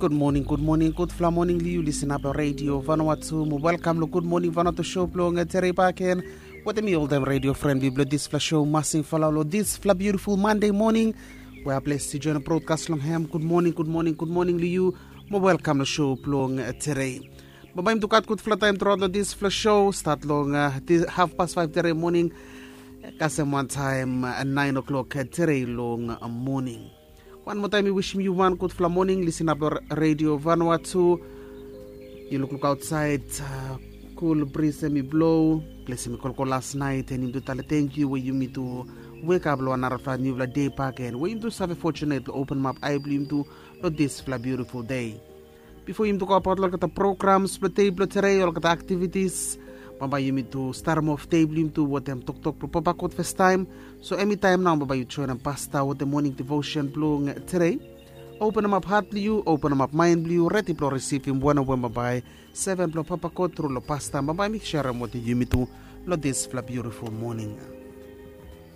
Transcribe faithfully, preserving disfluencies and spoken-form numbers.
Gud moning, gud moning, gudfala moning long yu. Lisin ap long redio Vanuatu. Mo welkam long Gud Moning Vanuatu show blong tere baken. Wetem mi oltaem redio fren blong dispela show masing fala long dispela biutiful Mande moning we a ples i join brodkas long hem. Gud moning, gud moning, gud moning long yu. Mo welkam long show blong tere. Bambae yumi tu gat gudfala taem truaot long dispela show, stat long hafpas faef tere moning kasem wantaem naen o'klok tere long moning. Wan moa taem mi wisim yu wan gudfala moning. Lisin ap long redio Vanuatu. Yu lukluk ausait, kul bris em i blo. Ples em i kolkol las naet, en yumi tu tale tenkyu we yumi tu wekap long wan narafala niufala dei baken, we yumi tu save fotunet long openem ap ai blong yumi tu long dispela biutiful dei. Bifo yumi tu go abaot long olgeta programs blong dei blong tere, olgeta aktivitis, bambae yumi tu starim of dei blong yumi tu wetem toktok blong Papa God fastaem. So em i taem nao bambae yu joinim pasta wetem moning devotion blong tere. Openem ap hat blong yu, openem ap maen blong yu, redi blong risivim wanem we bambae seven blong Papa God tru long pasta bambae mi serem wetem yumi tu long dispela biutiful moning.